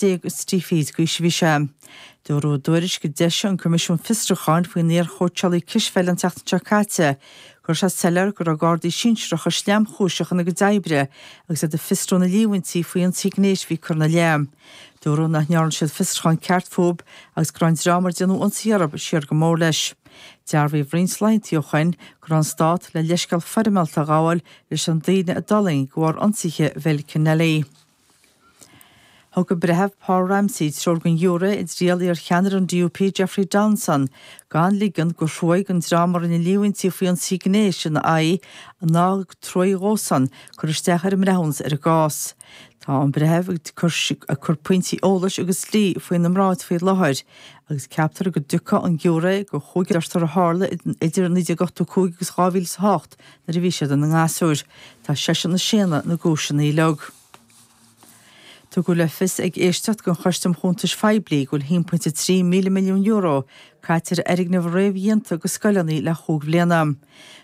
30 d'aois a bhí sé. Dúradh i dtuairisc a d'eisigh an Coimisiún Fiosrúcháin faoin iar-chóitseálaí cispheile an tseachtain seo caite go raibh sé soiléir go raibh Gardaí sinsearacha sleamchúiseach ina gcuid oibre agus iad ag fiosrú na líomhaintí faoi ionsaí gnéis a bhí curtha ina leith. Dúradh nach ndearna siad fiosrúchán ceart fúthu agus go raibh an dream ar déanadh ionsaí orthu siar go mór leis. Dearbhaíodh roinnt laethanta ó shoin go raibh an Stát le leithscéal foirmeálta a ghabháil leis an daoine a d'fhulaing de bharr ionsaithe Bhill Kennelly. Thug an Breitheamh Paul Ramsey treoir don ghiúiré i dtriail iar-cheannaire an DUP Jeffrey Donaldson gan ligean gur thruaigh don dream a rinne líomhaintí faoi ionsaí gnéis ina aghaidh ná truaigh dhósan cur isteach ar an mbreithiúnas ar an gcás. Tá an Breitheamh ag cur pointí eolais agus dlí faoina mbráid faoi láthair agus ceaptar go dtiocfaidh an giúiré go chúigear a tharla idir 1985 agus 2008 nuair a bhí siad ina ngasúir. Tá seisean ag séanadh na gcúiseanna uilig. Tugadh le fios ag éisteacht den Choiste um Chuntais Phoiblí go bhfuil €1.3 míle milliún caite ar fhoirgnimh réamhdhéanta do scoileanna le chúig bhliana.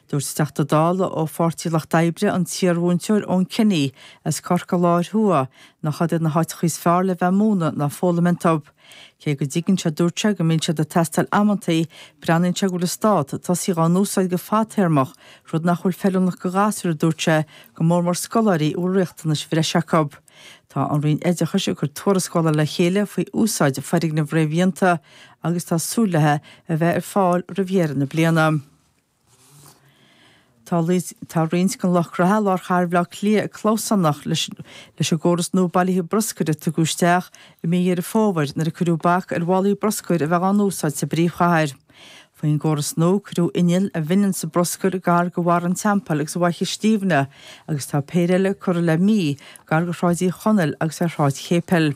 Dúirt an Teachta Dála ó Pháirtí Lucht Oibre, an t-iarmhúinteoir Eoin Kenny as Corcaigh Láir Thuaidh, nach iad na háiteacha is fearr le bheith ag múineadh ná foghlaim iontu. Cé go dtuigeann sé, dúirt sé, go mbíonn siad ag teastáil amantaí, breathnaíonn sé go bhfuil an stát ag tosaí dhá n-úsáid go fadtéarmach, rud nach bhfuil feiliúnach do ghasúir, a dúirt sé, go mór mór scoláirí a bhfuil riachtanais bhreise acu. Tá an Roinn Oideachais ag cur tuarascála le chéile faoi úsáid foirgneamh réamhdhéanta agus tá súil léi a bheith ar fáil roimh dheireadh na bliana. Tá roinnt den lucht graithe i lár chathair Bhaile Átha Cliath ag clamhsánach leis an gcóras nua bailithe bruscair a tugadh isteach i mí Dheireadh Fómhair nuair a cuireadh bac ar mhálaí bruscair a bheith á n-úsáid sa bpríomhchathair. Faoin gcóras nua, cuireadh innill a bhaineanns an bruscar gar do Bharra an Teampaill agus Fhaiche Stiabhna agus tá péire eile curtha le mí gar do Shráid Uí Chonaill agus ar Shráid Chéipil.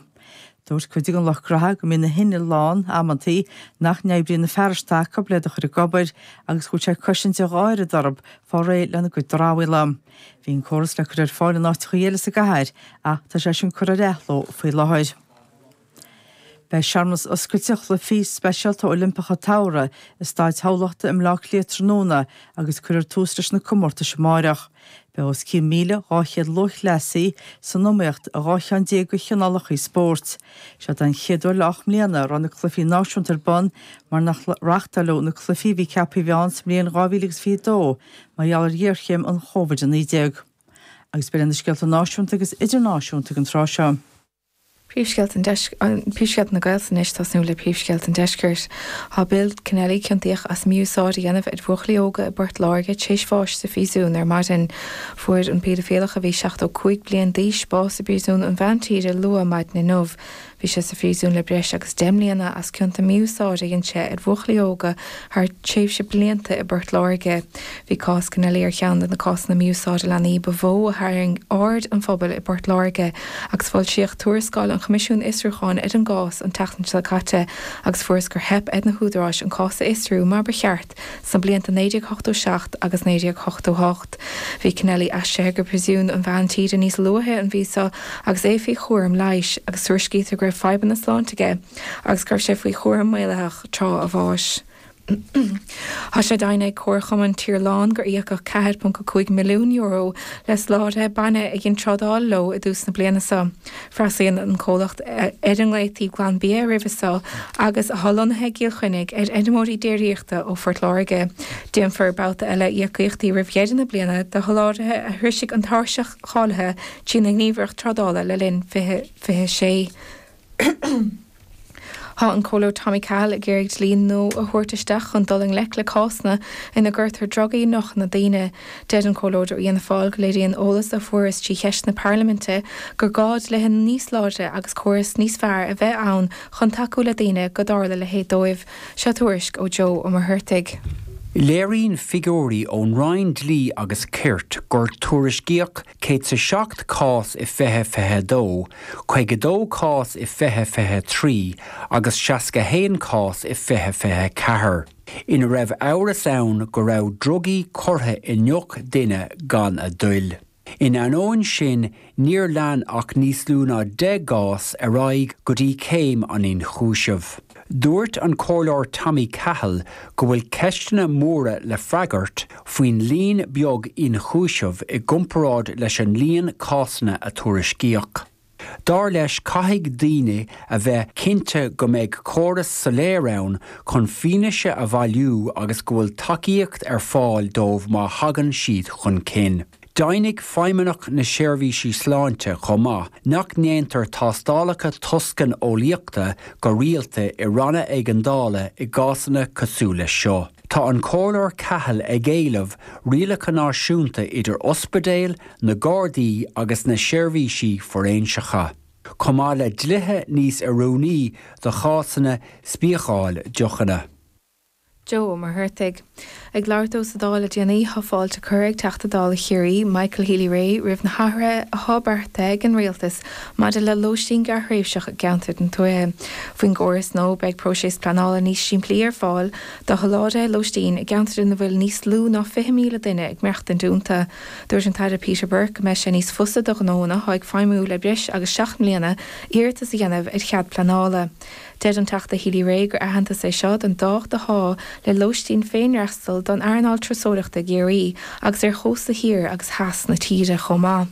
Dúirt cuid den lucht graithe go mbíonn na hinnill lán, amantaí, nach n-oibríonn na fearais atá acu le iad a chur ag obair agus go bhfuil sé ag cosaint an gháire d'orthu fá réidh lena gcuid dramhaíola. Bhí an córas le cur ar fáil in áiteachaí eile sa gcathair ach tá sé sin curtha ar athló faoi láthair. Beidh searmanas oscailte Chluichí Speisialta Oilimpeacha tSamhraidh i Staid Thamhlachta i mBleá Cliath tráthnóna agus cuirfear tús leis na comórtais amáireach. Beidh os cionn 1,200 lúthchleasaí san iomaíocht i 12 cheann de chineálacha spóirt. Seo den chéad uair le 8 mbliana a raibh na cluichí náisiúnta ar bun mar nach reáchtáileadh na cluichí a bhí ceaptha a bheith ann sa mbliain 2022 mar gheall ar ghéarchéim an Covid-19. Agus b'in iad na scéalta náisiúnta agus idirnáisiúnta ag an tráth seo. Príomhscéalta an Deis Príomhscéalta na Gaeltachta anois, tosnú le Príomhscéalta an Deiscirt. Tá Bill Kennelly ciontaíoch as mí-úsáid a dhéanamh ar bhuachaillí óga i bPort Láirge tar éis bháis sa phríosún ar maidin. Fuair an péidifileach a bhí 75 bliain d'aois bás i bPríosún an Mheántíre luath maidin inniu. Bhí sé sa phríosún le breis agus 10 mbliana as cionta mí-úsáide a dhein sé ar bhuachaillí óga thar tréimhse blianta i bPort Láirge. Bhí cás Kennelly ar cheann de na cásanna mí-úsáide leanaí ba mhó a tharraing aird an phobail i bPort Láirge agus foilsíodh tuarascáil an Choimisiúin Fhiosrúcháin ar an gcás an tseachtain seo caite agus fuarthas gur theip ar na húdaráis an cás a fhiosrú mar ba cheart sna blianta 1987 agus 1988. Bhí Kennelly aistrithe go Príosún an Mheán Tíre níos luaithe an mhí seo agus é faoi chúram leighis agus tuairiscítear go raibh fadhbanna sláinte aige agus go raibh sé faoi chúram maolaitheach tráth a bháis. Tá sé deimhnithe ag Comharchumann Tír Láin gur íocadh €4.5 milliún le soláthraithe bainne a dhein trádáil leo i dtús na bliana seo. Freastalaíonn an comhlacht, ar a nglaotaí Glanbia roimhe seo agus atá lonnaithe i gCill Chainnigh, ar fheirmeoirí déiríochta ó Phort Láirge. Déanfar babhta eile íocaíochtaí roimh dheireadh na bliana do sholáthraithe a shroisigh an tairseach cháilithe trína nGníomhaireacht Trádála le linn 2026. Tá an Comhairleoir Tommy Cahill ag iarraidh dlí nua a thabhairt isteach chun dul i ngleic le cásanna ina gcuirtear drugaí i ndeochanna daoine. Deir an Comhairleoir ó Fhianna Fáil go léiríonn eolas a fuarthas trí cheisteanna parlaiminte gur gá dlíthe níos láidre agus córas níos fearr a bheith ann chun tacú le daoine go dtarla a leithéid dóibh. Seo tuairisc ó Joe Ó Muircheartaigh. Léiríonn figiúirí ón Roinn Dlí agus Cirt gur tuairiscíodh 107 cás i 2022, 52 cás i 2023 agus 61 cás i 2024, ina raibh amhras ann go raibh drugaí curtha i ndeoch duine gan a dtoil. In ainneoin sin, níor lean ach níos lú ná 10 gcás ar aghaidh go dtí céim an ionchúisimh. Dúirt an Comhairleoir Tommy Cahill go bhfuil ceisteanna móra le freagairt faoin líon beag ionchúiseamh i gcomparáid leis an líon cásanna a tuairiscíodh. Dar leis caithfidh daoine a bheith cinnte go mbeidh córas soiléir ann chun fianaise a bhailiú agus go bhfuil tacaíocht ar fáil dóibh má thagann siad chun cinn. Deimhnigh Feidhmeannach na Seirbhísí Sláinte chomh maith nach ndéantar tástálacha toscaineolaíochta go rialta i ranna éigeandála i gcásanna cosúil leis seo. Tá an Comhairleoir Cahill ag éileamh rialacha náisiúnta idir ospidéil, na Gardaí agus na seirbhísí fóiréinseacha, chomh maith le dlíthe níos oiriúnaí do chásanna spiacháil deochanna. Joe Ó Muircheartaigh. Ag labhairt dó sa Dáil le déanaí, tá fáilte curtha ag Teachta Dála Chiarraí, Michael Healy-Rae, roimh na hathruithe atá beartaithe ag an Rialtas maidir le lóistín gearrthréimhseach i gceantair na tuaithe. Faoin gcóras nua, beidh próiseas pleanála níos simplí ar fáil do sholáthraithe lóistín i gceantair ina bhfuil níos lú ná 20,000 duine ag maireachtaint iontu. Dúirt an tAire Peter Burke go mbeidh sé níos fusa do ghnóanna atá ag feidhmiú le breis agus 7 mbliana iarratas a dhéanamh ar chead pleanála. Deir an Teachta Healy-Rae gur aitheantas é seo don dtábhacht atá le lóistín féinfhreastail don earnáil turasóireachta i gCiarraí agus ar chósta thiar agus theas na tíre chomh maith.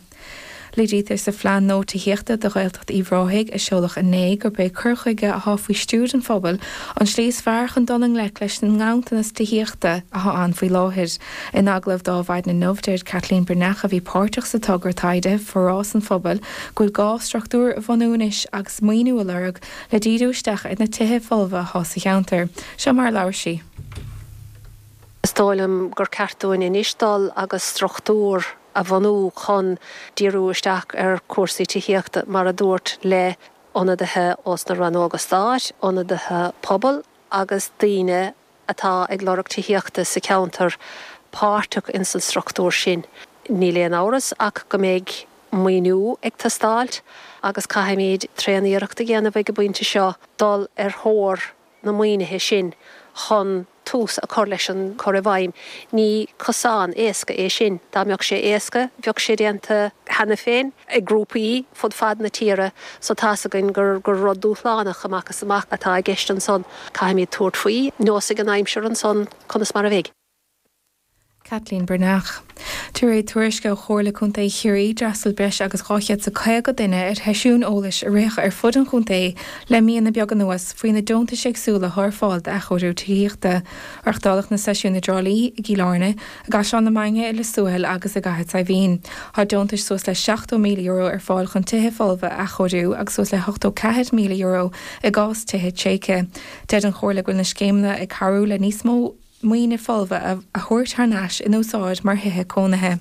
Léirítear sa phlean nua tithíochta do Ghaeltacht Uíbh Ráthaigh a seoladh inné gurb é cur chuige atá faoi stiúir an phobail an tslí is fearr chun dul i ngleic leis an nganntanas tithíochta atá ann faoi láthair. In agallamh d'Adhmhaidin inniu, deir Caitlín Breathnach, a bhí páirteach sa togra taighde Forás an Phobail, go bhfuil gá struchtúr a bhunú anois agus maoiniú a lorg le díriú isteach ar na tithe folmha atá sa cheantar. Seo mar a labhair sí. Is dóigh liom gur ceart dúinn anois dul agus struchtúr a bhunú chun díriú isteach ar chúrsaí tithíochta, mar a dúirt, le ionadaithe ós na rannóga stáit, ionadaithe pobail agus daoine atá ag lorg tithíochta sa cheantar páirteach ins an struchtúr sin. Níl aon amhras ach go mbeidh maoiniú ag teastáilt agus caithfimid tréan-iarracht a dhéanamh ag an bpointe seo dul ar thóir na maoinithe sin chun tús a chur leis an cur i bhfeidhm. Ní cosán éasca é sin. Dá mbeadh sé éasca, bheadh sé déanta cheana féin ag grúpaí fud fad na tíre so tá's againn gur rud dúshlánach amach is amach atá i gceist ansan. Caithfimid tabhairt faoi. Neosfaidh an aimsir ansan conas mar a bheidh. Caitlín Breathnach. De réir tuairisce ó Chomhairle Contae Chiarraí, d'fhreastail breis agus 250 duine ar sheisiúin eolais a ritheadh ar fud an chontae le míonna beaga anuas faoi na deontais éagsúla atá ar fáil d'athchóiriú tithíochta. Reáchtáladh na seisiúin i dTrá Lí, i gCill Airne, i gCaisleán na Mainge, i Lios Tuathail agus i gCathair Saidhbhín. Tá deontais suas le €70,000 ar fáil chun tithe folmha a athchóiriú agus suas le €84,000 i gcás tithe tréigthe. Deir an Chomhairle go bhfuil na scéimeanna ag cabhrú le níos mó maoine folmha a thabhairt thar n-ais in úsáid mar thithe cónaithe.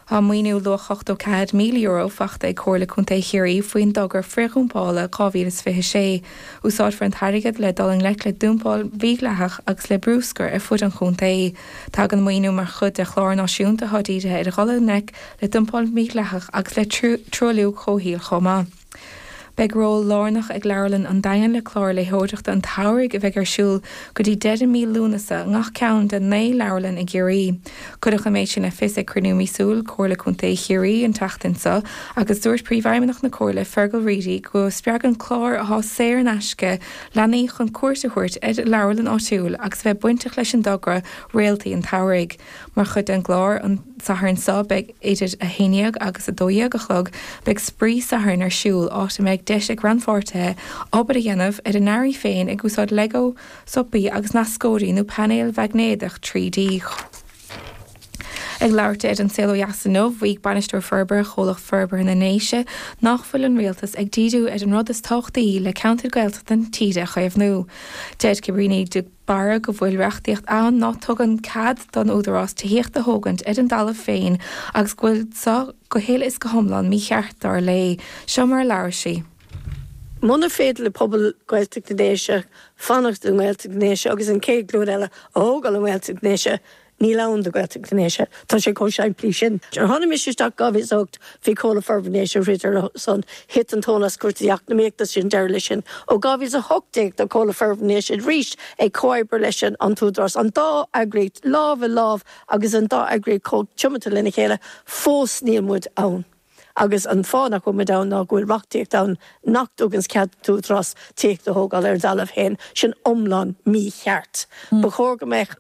Tá maoiniú luach €84,000 faighte ag Comhairle Contae Chiarraí faoin dtogra frithdhumpála 2026. Úsáidfear an t-airgead le dul i ngleic le dumpáil mhídhleathach agus le brúscar ar fud an chontae. Tagann an maoiniú mar chuid de chlár náisiúnta atá dírithe ar dhul i ngleic le dumpáil mhídhleathach agus le truailliú comhshaoil chomh maith. Beidh ról lárnach ag Leabharlann an Daingin le clár léitheoireachta an tsamhraidh a bheidh ar siúl go dtí deireadh mí Lúnasa i ngach ceann de 9 leabharlann i gCiarraí. Cuireadh an méid sin le fios ag cruinniú míosúil Comhairle Contae Chiarraí an tseachtain seo agus dúirt Príomhfheidhmeannach na Comhairle, Fergal Reidy, go spreagann clár atá saor in aisce leanaí chun cuairt a thabhairt ar a leabharlann áitiúil agus a bheith bainteach leis an dtogra Réaltaí an tSamhraidh. Mar chuid den gclár an Satharn seo beidh idir 11 agus 12 a chlog beidh Spraoi Sathairn ar siúl áit a mbeidh deis ag rannpháirtithe obair a dhéanamh ar a n-earraí féin ag úsáid Lego, sopaí agus nascóirí nó painéil mhaighnéadach 3D. Ag labhairt di ar An Saol Ó Dheas inniu, mhaígh Bainisteoir Forbartha Chomhlacht Forbartha na nDéise nach bhfuil an Rialtas ag díriú ar an rud is tábhachtaí le ceantair Gaeltachta na tíre a chaomhnú. Deir Cabríní de Barra go bhfuil reachtaíocht ann ná tugann cead don Údarás tithíocht a thógaint ar an dtalamh féin agus go bhfuil seo go huile is go hiomlán mícheart, dar léi. Seo mar a labhair sí. Muna féidir le pobal Gaeltacht na nDéise fanacht i nGaeltacht na nDéise agus an chéad ghlúin eile a thógáil i nGaeltacht na nDéise, Níl ann do Ghaeltacht na nDéise. Tá sé chomh simplí sin. Nuair a tháinig mise isteach 2008 bhí Comhlacht Forbartha na nDéise ag troid ar a son. Thit an tóin as cúrsaí eacnamaíochta, sin deireadh leis sin. Ó 2018 tá Comhlacht Forbartha na nDéise arís ag comhoibriú leis an t-údarás. An dá eagraíocht lámh i lámh agus an dá eagraíocht chomh tiomanta lena chéile. Fós níl muid ann. Agus an fáth nach bhfuil muid ann ná go bhfuil reachtaíocht ann nach dtuganns cead don t-údarás tithíocht a thógáil ar a dtalamh féin. Sin iomlán mícheart. Ba chóir go mbeadh.